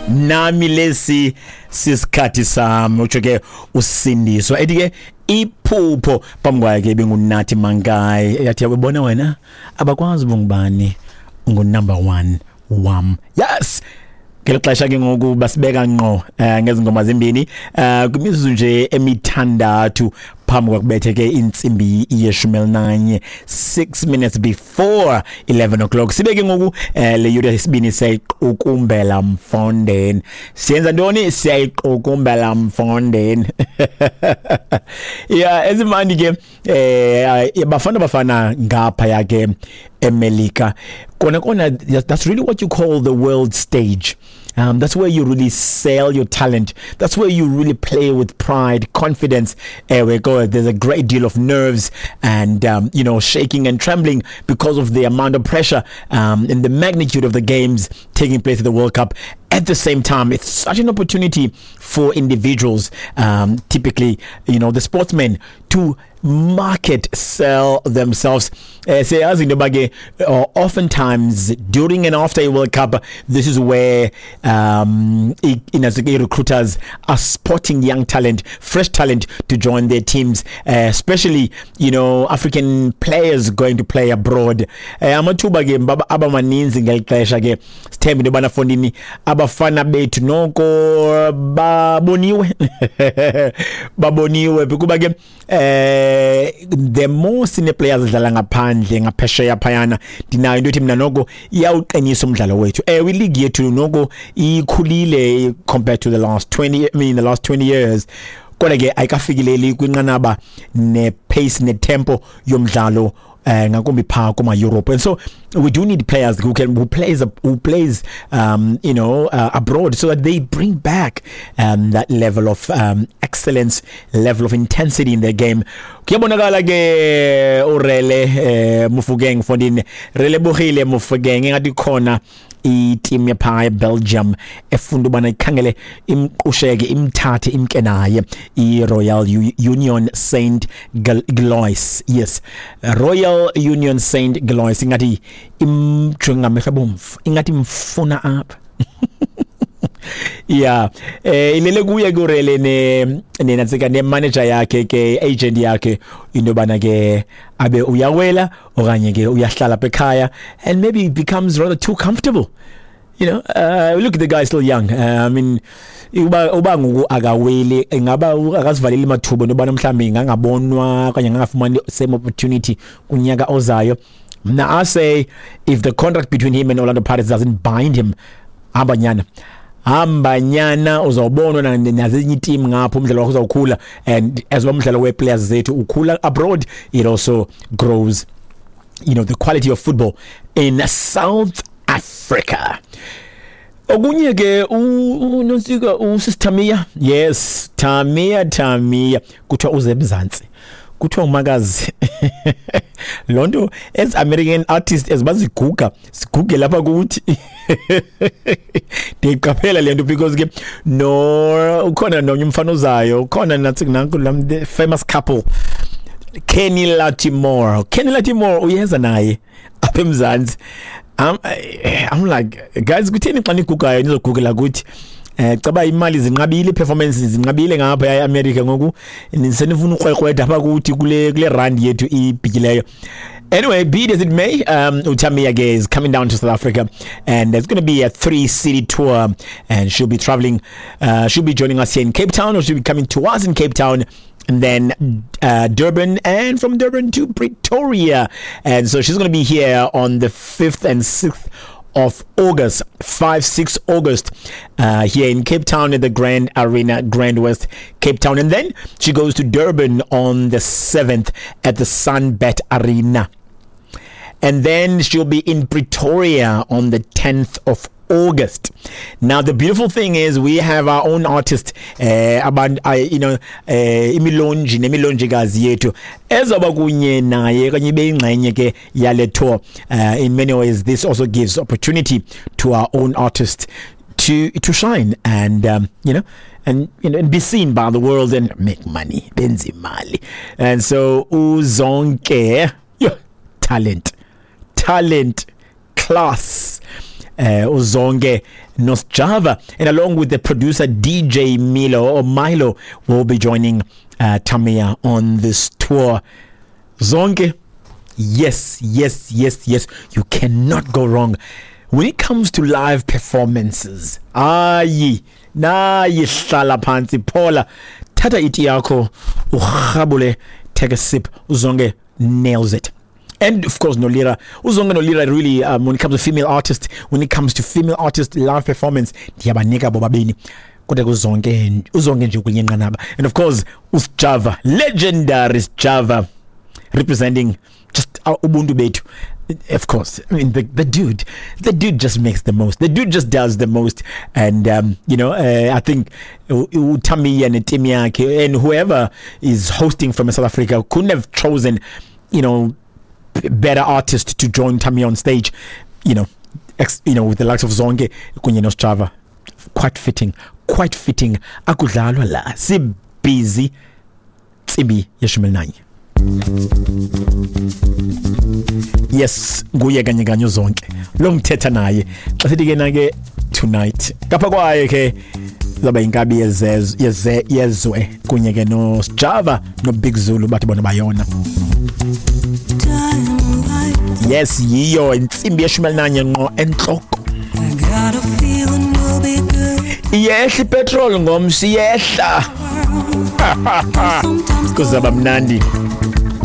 Nami lesi sisikhathi sami, utsho ke uSindiswa. Ethi ke iphupho phambi kwayo ke benguNathi Mankayi, yathi yabona wena abakwazi bungubani, ungu-number one wam. Yes, ngeli xesha ke ngoku basibeka ngqo ngezi ngoma zimbini kwimizuzu nje emithandathu phambi kwakubethe ke intsimbi yeshumi elinanye, 6 minutes before 11 o'clock. Sibe ke ngoku le yure yesibini siyayiqukumbela, mfondeni. Siyenza ntoni? Siyayiqukumbela, mfondeni. Ya, ezimandi ke Bafana Bafana ngapha ke eMelika kona kona. That's really what you call the world stage. That's where you really sell your talent. That's where you really play with pride, confidence. We go. There's a great deal of nerves and shaking and trembling because of the amount of pressure and the magnitude of the games taking place at the World Cup. At the same time, it's such an opportunity for individuals, typically, the sportsmen, to market, sell themselves. Siyazi into yoba ke oftentimes during and after a World Cup, this is where recruiters are spotting young talent, fresh talent to join their teams, especially African players going to play abroad. Amathuba ke abamaninzi ngeli xesha ke. Sithembe into yobana, fondini, abafana bethu noko baboniwe, baboniwe, kuba ke the more sine players edlala ngaphandle, ngaphesheya phayana, ndinayo into ethi mina noko iyawuqinisa umdlalo wethu. Ewe, ileague yethu noko ikhulile compared to the last 20, I mean, the last 20 years, kodwa ke ayikafikeleli kwinqanaba ne-pace ne-tempo yomdlalo ngakumbi phaa kuma Europe. And so we do need players who plays abroad so that they bring back that level of excellence, level of intensity in their game. Kuyabonakala ke uRele Mofokeng, fondini, Relebogile Mofokeng, engathi khona iteam yapha eBelgium efunda ubana ikhangele, imqusheke, imthathe, imke naye, iRoyal Union Saint Gilloise. Yes, Royal Union Saint Gilloise, ingathi imjonga ngamehlo abomvu, ingathi imfuna apha. Yeah, ilele kuye kurele ne nenantsika ne manager yakhe ke, agent yakhe, into bana ke abe uyawela okanye ke uyahlala apha ekhaya and maybe it becomes rather too comfortable. Look, the guy is still young. I mean, uba ngoku akaweli, ingaba akazivaleli amathuba into yobana mhlawumbi ingangabonwa okanye angangafumani same opportunity kunyaka ozayo. Mna I say if the contract between him and Orlando Pirates doesn't bind him, hamba nyana, hamba nyana, uzawubonwa nazinye iteam ngapho, umdlalo wakho uzawukhula. And as well, umdlalo wee-players zethu ukhula abroad, it also grows the quality of football in South Africa. Okunye ke, unonsika usisiTamia, yes, Tamia, Tamia, kuthiwa uze eMzantsi, kuthiwa umakazi loo nto. As American artist as baziguga siguge lapha kuthi, ndiyiqaphela le nto because ke no ukhona nomnye umfana ozayo, ukhona nathi nanku the famous couple, Kenny Latimore. Kenny Latimore uyeza naye apha eMzantsi. I'm like, guys, kutheni xa nigugayo nizogugela kuthi? Caba imali zinqabile, performance zinqabile ngapha eAmerica, ngoku senifuna ukrwekrweda apha kuthi kule rand yethu ibhikileyo. Anyway, be it as it may, uTamia ke is coming down to South Africa, and there's going to be a three city tour, and she'll be traveling. She'll be joining us here in Cape Town, or she'll be coming to us in Cape Town, and then Durban, and from Durban to Pretoria. And so she's going to be here on the 5th and 6th of August, 5, 6 August, here in Cape Town at the Grand Arena, Grand West, Cape Town. And then she goes to Durban on the 7th at the Sunbet Arena. And then she'll be in Pretoria on the 10th of August. Now, the beautiful thing is we have our own artist, abantu, imilonji nemilonjikazi yethu ezoba kunye naye kanye beyingxenye ke yale tour. In many ways, this also gives opportunity to our own artists to shine and and be seen by the world and make money, benze imali. And so uZonke, yeah, talent, talent, class, uZonke. noSjava, and along with the producer DJ Milo or Milo will be joining Tamia on this tour. Zonke, yes, yes, yes, yes, you cannot go wrong when it comes to live performances. Ayi nayi, hlala phansi, phola, thatha iti yakho, urhabule, take a sip. uZonke nails it. And of course noLira, uZonke noLira, really, when it comes to female artists, when it comes to female artist live performance, ndiyabanika bobabini, kodwa kuZonke, uZonke nje kwenye nqanaba. And of course uSjava, legendary Sjava, representing just ubuntu bethu. Of course, I mean, the dude just makes the most, the dude just does the most. And I think uTamia neteam yakhe and whoever is hosting from South Africa couldn't have chosen better artist to join Tamia on stage, with the likes of Zonke kunye noSjava. Quite fitting, quite fitting. Akudlalwa la, si busy. 11:30. Yes, nguye kanye kanye uZonke lo ngithetha naye xa sithi ke na ke tonight. Ngapha kwaye ke zaba inkabi yeze yezwe kunye ke no Java no Big Zulu, bathi bona bayona. Yes, yiyo 11:30 ngqo entloko. Iyehla ipetrol ngomsi, iyehla, kuzaba mnandi.